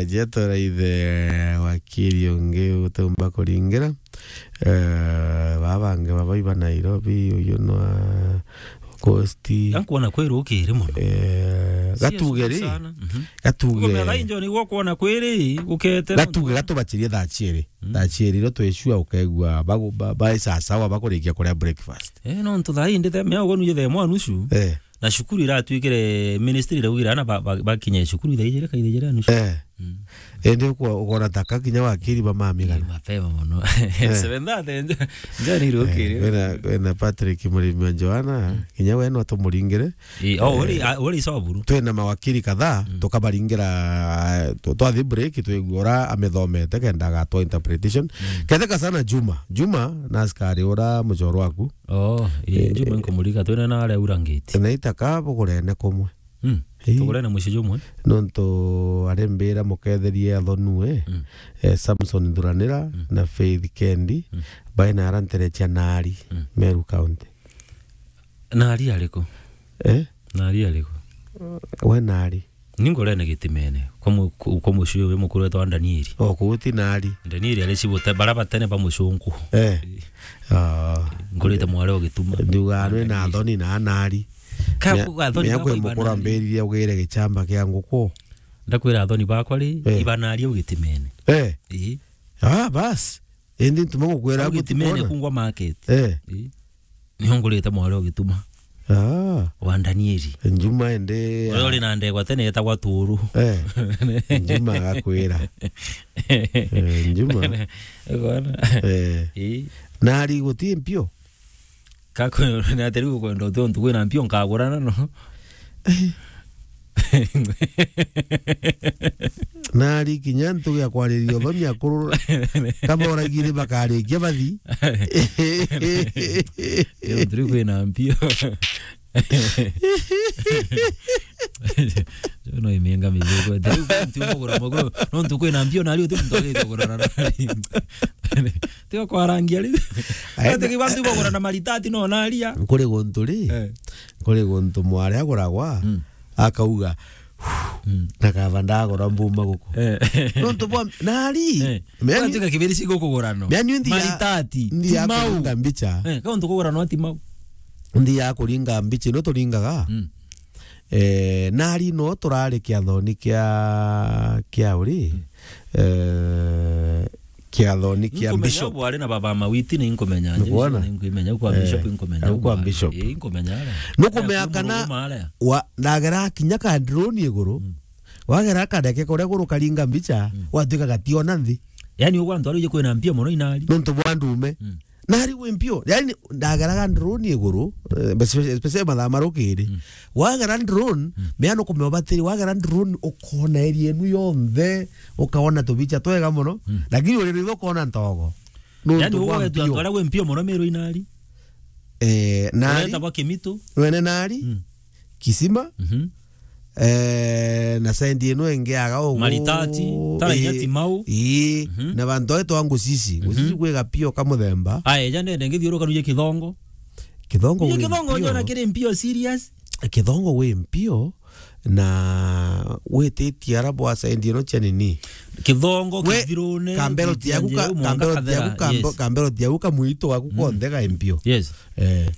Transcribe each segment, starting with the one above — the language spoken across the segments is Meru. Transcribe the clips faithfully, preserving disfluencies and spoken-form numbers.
Jeto raithe wakiri ungi utumba kuringira. Eh, baba bangi baba iba Nairobi, uyu nwa Coast. Yankuona kwiri ukiri muno. Eh, Serious gatuge ri. Sana. Mhm. Gatuge. Kumenya thaa injo niguo kuona kwiri gukete. Gatuge gatubachirie thaa chiiri. Mm. Thaa chiiri ro twicua ukegua bagu-, ba-, ba-, sawa sawa bakurikia kuria breakfast. Eh, no ntu thaa indi the mea ugo nuje the mwa nusu. Eh. Na cukuru iratuikire ministry iraugire ana ba-, ba-, bakinye cukuru thaa ijiri ka ijiri nusu. Eh. Mm. Indi uko-, ukona taka kinya wakiri ba mamigana. Ni mapema muno. Eh. Seven thirty nja-, njani rukiri. Eh, wena, wena Patrick Murimi wa Joana, mm, kinya we no tumuringire. Ii, oh, eh, uri, a-, uri Soburu. Twina mawakiri kadhaa, mm, tukabaringira, tu-, twathi break, twigua ura amithomete kenda agatwa interpretation. Mm. Ketheka sana Juma. Juma, na askari ura muchoro waku. Oh, ii, eh, Juma nkumurika, twina na aria aura ngiti. Na itaka bugurene kumwe. Mm. Ii. Tugurene mucii jumwe. Nontu arembira muketherie athonue, mm, eh, Samson Thuranira, mm, na Faith Kendi, mm, baina ara ntere cia Nari, mm, Meru County. Nari ariku? Eh? Nari ariku? We Nari. Ni ngorene gitimene. Kwa mu-, ku-, kwa mucii uyu mukuru wetwa Danieli. O, kuu ti Nari. Danieli ari cibote, bara batene ba mucunku. Eh. Ah. Ngurite mware o gituma. Nduga nwe na Danieli. Athoni na Nari. Ka Mia-, kuga athoni mia bakwa kwi mukuru ibanari. Ambiririe ugire gichamba kia nguku. Ndakwira athoni bakwa ri, eh, ibanari o gitimene. Eh. Ii. Ah, bas. Indi ntuma gukwira au gitimene kungwa market. Eh. Ii. Nio ngurite mware o gituma. Ah. Wa Danieli. Njuma indi. Uria uri na ndegwa tene etagwa Turu. Eh. Njuma agakwira. Eh, Njuma. Ukoona? Eh. Ii. Nari guti mpio? Kako, na atiri gukwenda uti untu kwina mpio nkagurana no. Nari kinya ntugi ya kwariria uthoni akurura. Kama uragire bakarikia bathi. Yo, turi kwina mpio. Yo, no imenga mizigo. Turi kwina mpio, no ntu kwina mpio, nari uti muntu agite kugurana nari. Tiga kwarangia riu. Aenda- Ati kibantu ibagura na maritati no naria. Kuri guntu ri, eh, kuri guntu mwari aguragwa, mm, akauga, mm, na kaba ndagura mbuma guku. Eh. Nontu bwa, nari, eh, meni- kwantu ka kibiri cigukugura no. Meni nthi ya- Maritati, nthi ya timau. Kuringa mbicha. Eh, kauntu kugura no timau. Nthi ya kuringa mbicha, no turingaga. Mm. Eh, nari no turari kiathoni kia, kia uri? Mm. Eh, kiathoni kia Nkumenya bishop. Bwari na baba Mawiti ni nkumenya. Nkuona? Ni nkumenya kwa, eh, bishop nkumenya au kwa bishop. Eh, nkumenya ara. Nukumenya kana wa, ndagera kinya ka drone iguru. Mm. Wagera kadeke kuria guru karinga mbicha, mm, watuika gationa nthi. Yani ugwa antu aruje kwina mpia muno inari. Nontu bwa ndume. Mm. Nari gwi mpio. Yani, ndageraga drone iguru, eh, especially mathaa marukiri. Mm. Wagera drone, mm, mea nukumenya ubatiri, wagera drone ukona area enu yonthe, ukaona tubicha twega muno. Mm. Lakini uri ritho ukona ntogo. Nontu yani, bwa ugwetu mpio. Antu aria gwi mpio muno Meru inari. Eh, nari. Ureta bwa Kimitu. Wene nari. Mm. Kisima. Mhm. Eh, na sendi ino ingi aga ugu. Maritati, tara inya eh, timau. Ii, mhm, na bantu aitwa Ngusisi. Mhm. Ngusisi kwi gapio ka muthemba. Aya, eja ndende ngithiuruka nuje Kithongo. Kithongo. Nuje wi Kithongo mpio. Njona kiri mpio serious. Kithongo wi mpio na wititie ara bwa sendi ino cia nini. Kithongo, we, Kithirune, Kambero tiagu ka, Kambero tiagu, Kambe-, yes. Kambero tiagu kamwito gaku, mm, konthe ga mpio. Yes. Eh.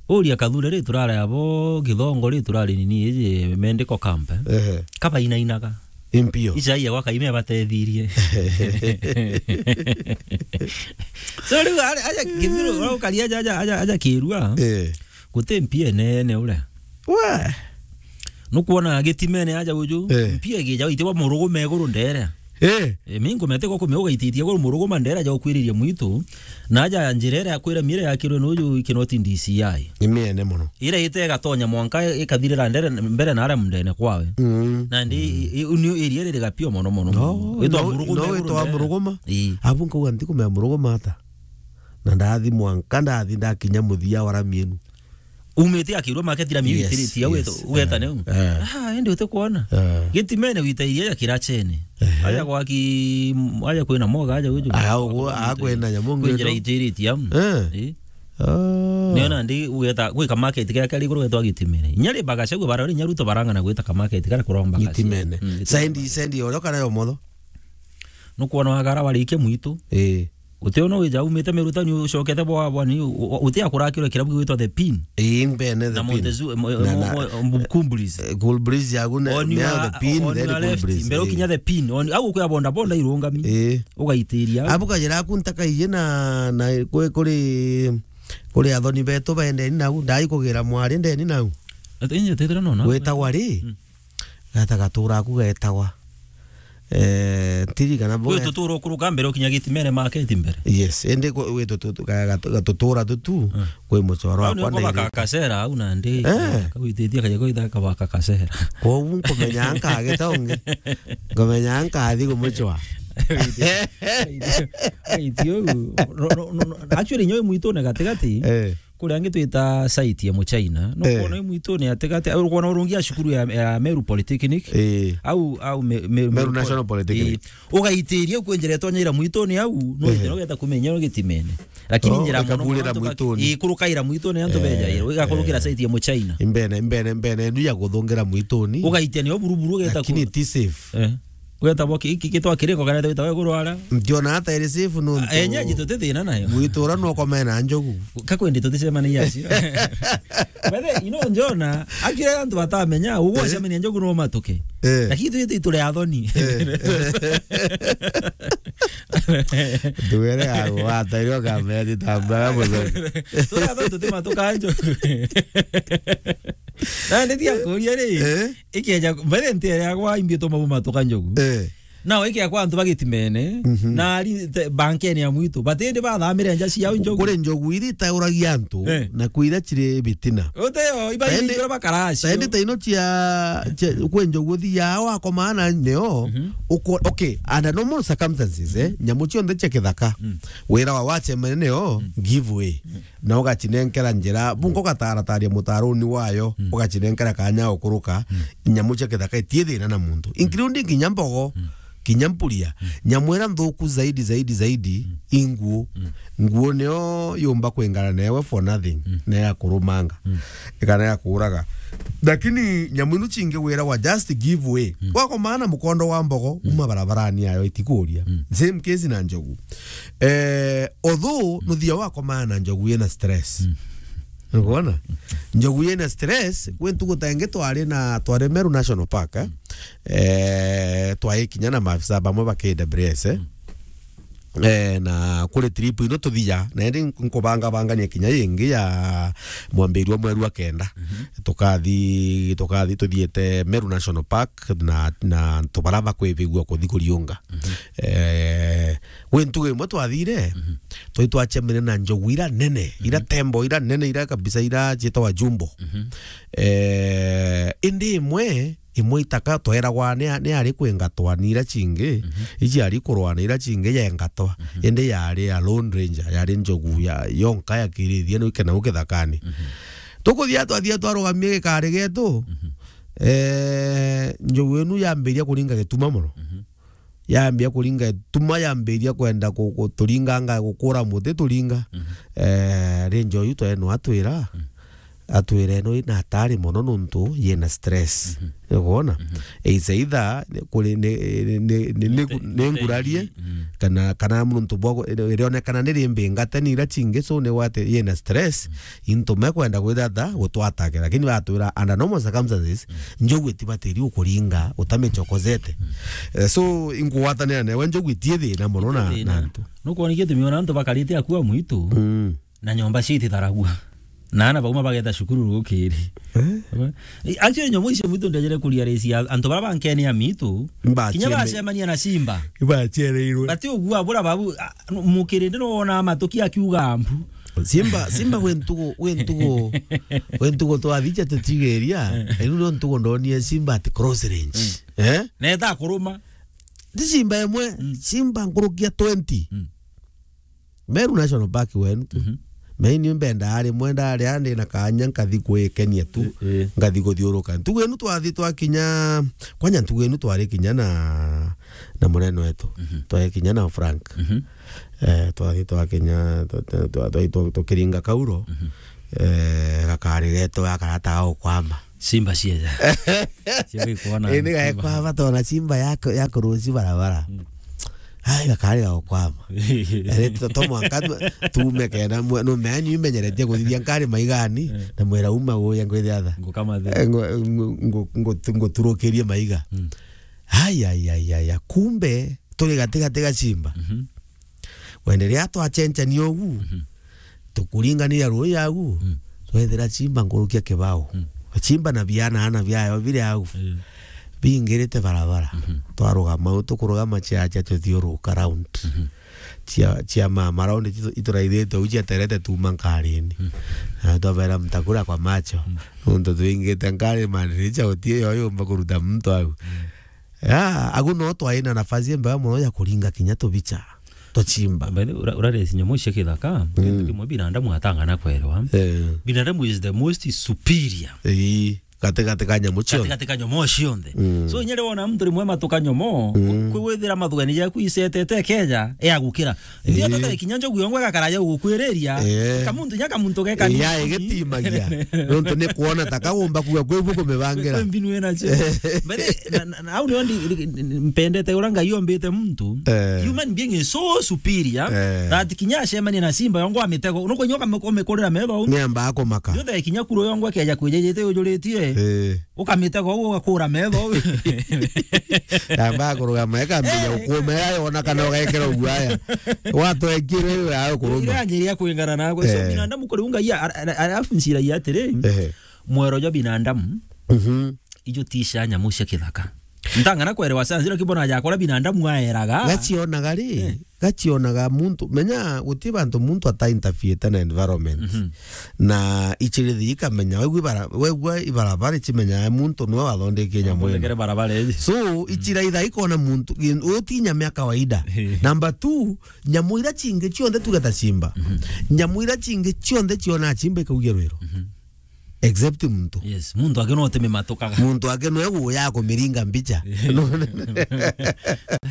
Uria Kathure ri turari abo Kithongo ri turari nini iji mendiko kampe. Ehe. Kabainainaga. Impio. Ica iya gwaka ime batethirie. So riu aja Kithiru, uria ukari aja, aja, aja, aja Kirua. Eh. Guti mpia enene uria. We. Nukwona gitimene aja uju, eh, mpia igija itibwa murugume iguru ndere. Eh. E, mi nkumete ko kumeuga ititie iguru murugume ndere aja ukwiriria mwitu. Na aja njira iria akwira mire yakirwe nuju ikinoti D C I. Ni miene muno. Ira ite igatonya mwanka ikathirira ndere mbere na aria mndene kwawe. Mm. Na ndi, mm, i, i, ni iria riri gapio muno muno. No, itwa no, muruguma no, iguru itwa ndere. Muruguma. Ii. Abu nkauga ntikumea muruguma ata. Na ndathi mwanka, ndathi ndakinya muthia wa rami inu. Umite akirwa market rami, yes, itiritie, yes, ugeta, eh, neu. Eh. Ah, ende ute kuona. Eh. Gitimene wita iria ya kirachene. Eh. Aja gwaki, aja kwina moga, aja uju. Ah, ugu, ah, kwina nyamu kwinjira ngeto. Itiritie, am. Eh. Eh. Oh. Nio nandi ugeta, gwi kamaketi karia kari iguru getwa Gitimene. Inya ri Bagacagua bara, inya Ruto barang'ana gwita kamaketi karia kuromba kasi. Gitimene. Mm, Gitimene. Sendi, sendi orio kana yo motho? Nukwona wagara warikia mwitu. Ii. Uti ono wija umite Meru Town ucokete bwa, bwa ni, u-, u-, uti akurakirwe kirabu gigwitwa The Pin. Ii, mbene The Na Pin. Montezuma, mo-, Na, mo-, na, mo-, Mkumbulizi. Eh, Cool Breeze yagu ne-, On ne your, The Pin, on then your Cool left. Breeze, Mbere ii. Ukinya The Pin. On, au ukwia boda boda irungami. Ii. Ugaitiria au. Abu kajira aku ntakaije na, na kwe-, kuri, kuri athoni betu bendeni nau, ndai kugira mwari ndeni nau. Ati inye tetera nona. Gwetagwa ri? Mm. Gata gatura aku getagwa. Eh, ntiri kana Kwi bo- tutura ukuruka mbere ukinya Gitimene market mbere. Yes, indi kwi, kwi tutu-, ka-, gatu-, gatutura tutu, Mm. kwi mucoro Au wakwa nio kwabaka ndairite. Kasera au nandi. Eh. Kawititie kaja kwitha kabaka Kasera. Kwogu nkumenya nkagita ungi. Nkumenya nkathi kumucwa. Wait, wait, uu. No, no, no, no. Actually, nyoe mwitune gatigati. Eh. Kuria angi twita site ya Muchina. No Eh. Kwona mwitune gatigati. Au kwona urungi ya cukuru ya, ya Meru Polytechnic. Eh. Au, au me, me, Meru Meru National Poly-, Polytechnic. Eh. Ugaitiria kwenjera tonyaira mwitune au. No Ehe. Itero geta kumenya no Gitimene. Lakini Oh, njira mono ikaburira mono antu baki-, mwituni. Ikurukaira mwitune antu Eh, bejaira. Igakurukira eh. Site ya Muchina. Imbene, imbene, imbene, ndu ya kuthungira mwituni. Ugaitia nio buruburu ugeta Lakini ku- ti safe. Eh. Ugeta boki, iki gitwa kiringo kana wita we kurwara. Ndiona hata iri safe nuntu Ah, enyeji tuti thina nayo. Mwitu ura no komena njogu. Kakwendi tuticemanagia acio. But then, you know, Njona, akira antu batamenya, ugwacemania njogu no matuke. Eh. Lakini tu, tu, turi athoni. Eh. Tuwere ago, watairwo kamera titambara muthoni. Turi athoni tutimatuka njogu. Na ndi tia kuria ri, Eh? Ikeja, mbere ntere agwa imbie tuma bumatuka njogu. Eh. Nao ikea kwa antu ba Gitimene, Mhm. na ari te-, bankene ya mwitu. Batindi bathamire nja ciao njogu. Kuri njogu iri itauragia antu, Eh. na kwira ciri bitina. Uteo, iba Taindi-, iba bakaracio. Taindi taino cia, cia, kwi njogu thiaa wakomana neo, Mhm. uko-, okay, under normal circumstances, eh, nyamu cionthe cia kithaka, Mm. wira wa wacemene neo, Mm. give way. Mm. Na ugacinenkera njira, bunga ugatarataria mutaruni wayo, Mm. ugacinenkera kanya ukuruka, Mm. nyamu cia kithaka itie thina na muntu, including kinya mbogo, Mm. kinya mpuria. Mm. Nyamu ira nthuku zaidi, zaidi, zaidi, Mm. i nguo. Mm. Nguo nio yumba kwingana newe for nothing, Mm. ne ya kurumanga, Mm. kana ya kuuraga. Lakini nyamu inu cingi wira wa just give way. Mm. Wakomana mukondo wa mbogo, Mm. uma barabarani yayo itikuria. Mm. Same case na njogu. Eh, although nuthia wakomana na njogu yina stress. Mm. Ukwona? Njogu yina stress, kwi ntuku ta ingi twari na, twari Meru National Park, eh? Mm. Eh, twai kinya na maafisa bamwe ba K W S, eh? Mm. Eh, na kuri trip ino tuthia, na indi nkubangabangania kinya yingi ya mwambiriro mweru wa kenda. Mhm. Tukathi, tukathi tuthiete Meru National Park na, na antu bara bakwibigua kuthi kuriunga. Mhm. Eh, Gwi ntugu imwe twathire, Mhm. twai twacemene na njogu ira nene, ira Mhm. tembo ira nene, ira kabisa, ira cietagwa jumbo. Mhm. Eh, indi imwe, imwe itaka tweragwa ni, ni ari kwingatwa ni ira cingi, Mhm. iji ari kurwa na ira cingi yengatwa. Mhm. Indi yari ya Lone Ranger, yari njogu ya, yonka ya kirithia ni kena u kithakani. Mhm. Tukuthia twathia twarugamia gikari getu, Mhm. eh, njogu inu yambiria kuringa gituma mono. Mhm. Yambia kuringa ituma, yambiria kwenda ku-, ku-, turinganga, gukura muti turinga. Mhm. Eh, ri njogu twe no atwira, Mm. atwira ino ina hatari mono nontu yina stress. Mhm. Ukwona? Mhm. It's either ni, kuri, ni, ni, ni, ni, ni, Nite-, ni ngurarie, nite-, mm. kana, kana nontu bwa ku-, irionekana ni rimbi ngate ni ira cingi, so ni wate yina stress. Mm. Into mekwenda gwitha ta gutwatake, lakini batwira under normal circumstances, Mm. njogu itibatiri ukuringa utamichokozete. Mm. Eh, so, inkugwatanira newe njogu itie thina mono na, Itie thina. Na antu. Nukwona gitumi ona antu bakarite akua mwitu, Mm. na nyomba cia ititharagua. Na ana bauma bageta cukuru rukiri. Eh? Actually, nyomba icio mwitu ndejere kuria resi ya antu bara bankene ya mitu. Mba Kinya cheme- bacemania na simba. Ibachereirwe. Bati ugua bura babu, a, mukirinde no wona matuki akiuga mbu. Simba, simba gwe ntugu, gwe ntugu, gwe ntugu twathi ja tutigeria. Eh. Riu no ntugu ndonie simba at cross range. Mm. Eh? Na eta kuruma. Ti simba imwe, Mm. simba nkurukia twenty. Mm. Meru National Park wenu tu. Mhm. Meni mbenda ari mwenda ari andi na kanya nkathi kwikenia tu. Eh, eh. Ngathi kuthiuruka. Ntugu inu twathi twakinya, kwanya ntugu inu twari kinya na na munene wetu. Mhm. Twakinya na Frank. Mhm. Eh, twathi twakinya, twa-, twa-, twa-, twa-, twa-, tukiringa kauro. Mhm. Eh, gakari getu gaka gataga gukwama. Simba cieja. Cia gikuona. Indi simba. Gaekwama tona simba yako, yakuruci barabara. Mm. Ai, gakari gagukwama. Eri to, to mwanka tu-, tuume kenda mwe-, no menyu imenyeretie kuthithia nkari maigani, eh, na mwira uma guya ngwithia tha. Ngukama thi. Eh, ngu-, ngu-, ngu-, ngu-, nguturukirie maiga. Mm. Ai, ai, ai, ai, ai. Kumbe, turi gati gati ga simba. Mhm. Wende riria twacenchania ugu, mhm, tukuringanira rui agu, mm, twethira chimba nkurukia kibao. Mm. Chimba na biana ana biayo biri au. Mm. Bingirite barabara. Mhm. Twarugama au, tukurugama chiacha tuthiuruka round. Mhm. Chia, chia mama round itu-, ituraithite au chiaterete tuma nkarini. Mm. Na twabera mtakura kwa macho. Mm. Nontu twingite nkari maniricha utie yo yumba kuruta muntu au. Mm. Ya, agu no twai na nafasi imbega mono ya kuringa kinya tubicha, tuchimba. By the way, ura-, uraresi nyamu cia kithaka, mm, kintu kimwe binadamu atangana kwerwa. Eh. Binadamu is the most superior. Ii, gati gati ka nyamu cionthe. Gati gati ka nyamu cionthe. Mm. So, inya riria wona muntu rimwe matuka nyomo, mm, kwi withira mathugani jaku isetete keja, e agukira. Ndio, eh, tata ikinya njogu yongwa gakara ya gukwiriria. Eh. Kamuntu nya kamuntu geka ni ya igitimagia. Nontu ni kuona ta kaumba kuga kwi bu kumibangira. Kwi mbinu ena cio. But, eh, na, na, na, au nio ndi, ndi, ndi, mpendete ura Ngai ombite muntu. Eh. Human being is so superior, eh, that kinya acemania na simba yongwa mitego. Nuko nyoka umikurira metho au. Ni amba akumaka. Ndio tha ikinya kuro yongwa keja kwijejete ujuritie. Eh. Ukamite go ugakura metho. Yamba kurugama, ikambiria, eh, ukumera, yona kana ugekera uguo aya. Watwekire, aya ukuruma. Iranjiria kwingana nawe. So, eh, binadamu kuri unga iya, ara-, ara-, arafu ncira iya atiri, ehe, mwero jwa binadamu, mhm, ijo tisha nyamu cia kithaka. Ntangana kwerewa science, lakini bona jakora binadamu aeraga. Gacionaga ri, eh. Gacionaga muntu, menya guti bantu muntu ata interfere na environment. Mhm. Na ichirithi ikamenya, wegua ibara-, wegua ibarabara ichimenyaga muntu niwe wathondekie nyamu ino. Athondekere barabara iji. So, mm, ichiraitha ikona muntu, uti nyamu ya kawaida. Number two, nyamu ira chingi cionthe tuge ta simba. Mhm. Nyamu ira chingi cionthe ciona chimba ikaugia rwiro. Mhm. Except muntu. Yes, muntu ake no utimimatukaga. Muntu ake no eguya kumiringa mbicha.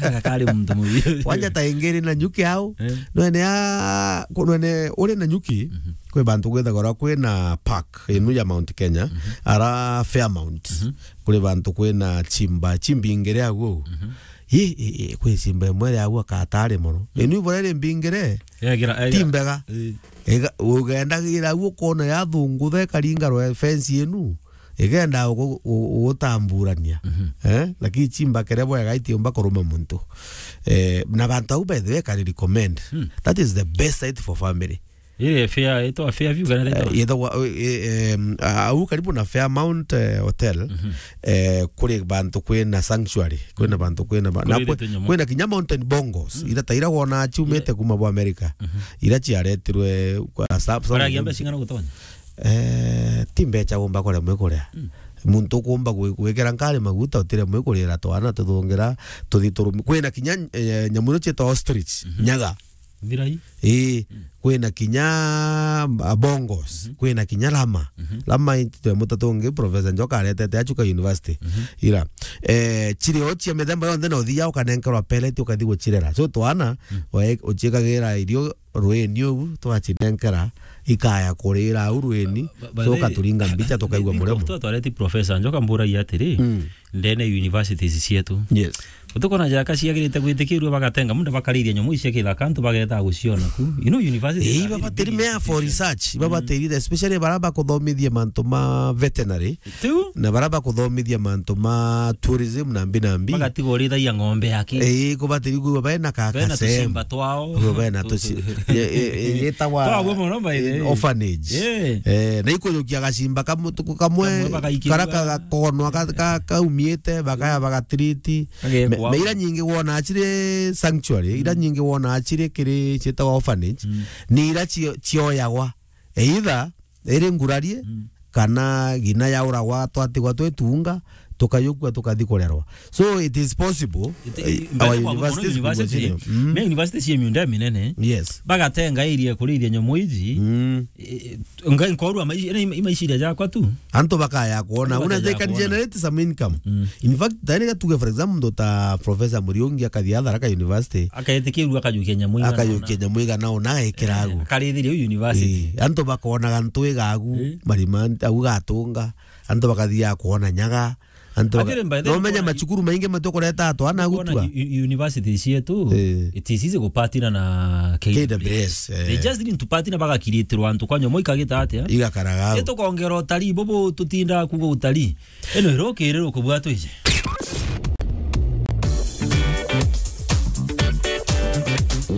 Gakari muntu mubi. Kwanja ta ingiri na nyuki au. Eh. Nwene ya, ku-, nwene uri na nyuki, mhm, kwi bantu gwithagwa kwina park inu ya Mount Kenya, mhm, ara Fairmount. Mhm. Kuri bantu kwina chimba, chimbi ingiri au. Mhm. Yi, i, i, kwi chimba imwe ria au akatari mono. Mhm. Inu ibore ri mbingire. Yagira, ti mbega. Eh. Iga-, ugendagira au ukona yathungutha ikaringa rwe fence inu, igenda ugu-, u-, ugutamburania. Mhm. Eh? Lakini chimba kere bwega itiumba kuruma muntu. Eh, na bantu au, by the way, kari recommend. Hmm. That is the best site for family. Ile fair, itwa fair view kana, eh, itwa? Yethagwa, eh, eh, em, a-, au karibu na Fairmount, eh, Hotel, mhm, eh, kuri bantu kwina sanctuary, kwina bantu kwina ba-, na kwi-, kwina kinya mountain bongos, mm, ira ta ira wona ciumite, yeah, kuma bwa America, mhm, ira ciaretirwe kwa sa-, baragia mbeca cing'ana gutonya? Eh, ti mbeca umba kuria mwikuria. Mm. Muntu ukumba gwi-, gwikira nkari maguta utire mwikurira twana tuthungira, tuthi turumi-, kwina kinya, eh, nyamu ino cietwa ostrich, mhm, nyaga. Thirai. Ii, mm, kwina kinya, ah, bongos, mhm, kwina kinya lama. Mhm. Lama i twemo ta tungi, Professor Njoka aretete achuka university. Mhm. Ira. Eh, chiri o chia mithemba yonthe na uthia ukanenkerwa pellet ukathi guchirera. So twana, mm, we-, uchiikagira irio rwini ugu, twachinenkera, ikaya kurira au rwini, ba-, ba-, so ukaturinga mbicha tukaigua muremo. Twa-, twareti Professor Njoka mburagia atiri, mm, ndene universities cietu. Yes. Utukona jaka ciagirite gwitikirua bagatenga muda bakariria nyamu icia kithaka antu bageta guciona ku. You know, university. Eh, babatiri mea for research, babatiri, especially bara bakuthomithia mantu ma veterinary. Tiu? Na bara bakuthomithia mantu ma tourism na mbi na mbi. Bagatiga urithagia ng'ombe yake. Eh, kubatiri kuwa bena ka-, bena kasem. Tusimba twao. Kuwa bena tusi-, ye-, ye-, ye-, yetawa, twagwe mono, by the way, orphanage. Eh. Eh, na ikujukia gacimba kamu-, tuku kamwe, kamwe bagaikirua, kara ka-, gakonwa ka-, ka-, kaumiite, bakaya bagatiriti. Agekwa. Me-, meira nyingi wona achire sanctuary, ira, mm, nyingi wona achire kiri cietagwa orphanage, mm, ni ira cio-, cioyagwa. Either iri ngurarie, mm, kana ngina yauragwa twatigwa twi tunga, tukayukua, tukathi kurerwa. So it is possible. It- eh, i- our mbere kwa muno universities university, could continue. Mm. Me university cie miunda minene. Yes. Bagatenga area kuriithia nyamu iji. Mm. Eh, eh, ngai nkorwa maici-, ene ima-, imaiciria jakwa tu. Antu bakaya kuona. Antu una they bakaya can kuona. Generate some income. Mm. In fact, tani gatuge, for example, ndo ta Professor Muriungi akathia Tharaka University. Akaetikirua akajukia nyamu igana. Akajukia nyamu igana ona agekira agu. Eh, akarithiria u university. Eh, antu bakonaga ntu igagu, eh, marima, au gatunga. Antu bakathiaga kuona nyaga. Antu baka- Atiri, by the way, no menya nkuona macukuru maingi matukureta atwana gutua. U-, u-, university cietu, eh, it is easy gupatina na K W S. K W S, eh. They just need to patina bagakiritirwa antu kwa nyomo ikagita atia? Igakaraga au. Itukongera utari bubu tutinda kuga utari. Ino irokirirwo kubwa twije.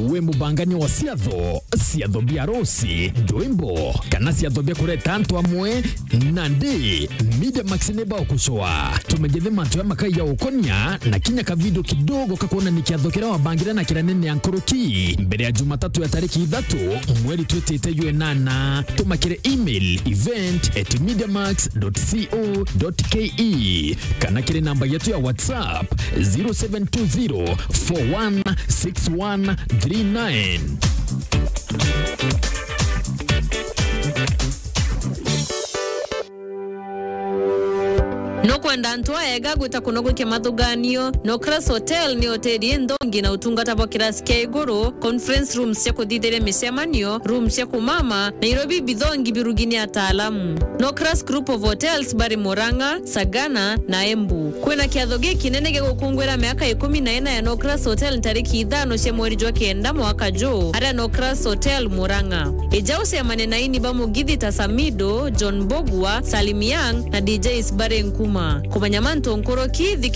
Wi mubangania wa ciatho, ciatho bia ruci, ndwimbo, kana ciatho bia kureta antu amwe, nandi Media Max ni bagucoa. Tumegethe mantu ya makai ya ukonia na kinya ka video kidogo ka kuonania kiatho kiria wabangire na kiria nene ya nkuruki. Mbere ya Jumatatu ya tariki ithatu, mweri twitite jwe nana, tuma kiri email event at mediamax dot co dot ke. Kana kiri namba yetu ya WhatsApp, zero seven two zero four one six one three nine. Nukwenda antu aega gwita kuno gwikia mathuganio? Nocras Hotel ni hoteli inthongi na utungata bwa kirasi kia iguru, conference rooms cia kuthithiria micemanio, rooms cia kumama, Nairobi bithongi birugini ataalamu. Nocras Group of Hotels bari Murang'a, Sagana na Embu. Kwina kiatho gikinene gia gukungwira miaka ikumi na ina ya Nocras Hotel ntariki ithano cia mweri jwa kenda mwaka juu, aria Nocras Hotel Murang'a. Ija ucemane na ini ba mugithi ta Samido, John Bogwa, Salim Young na D Js bari Nkuma. Kumenya mantu nkuruki, thikira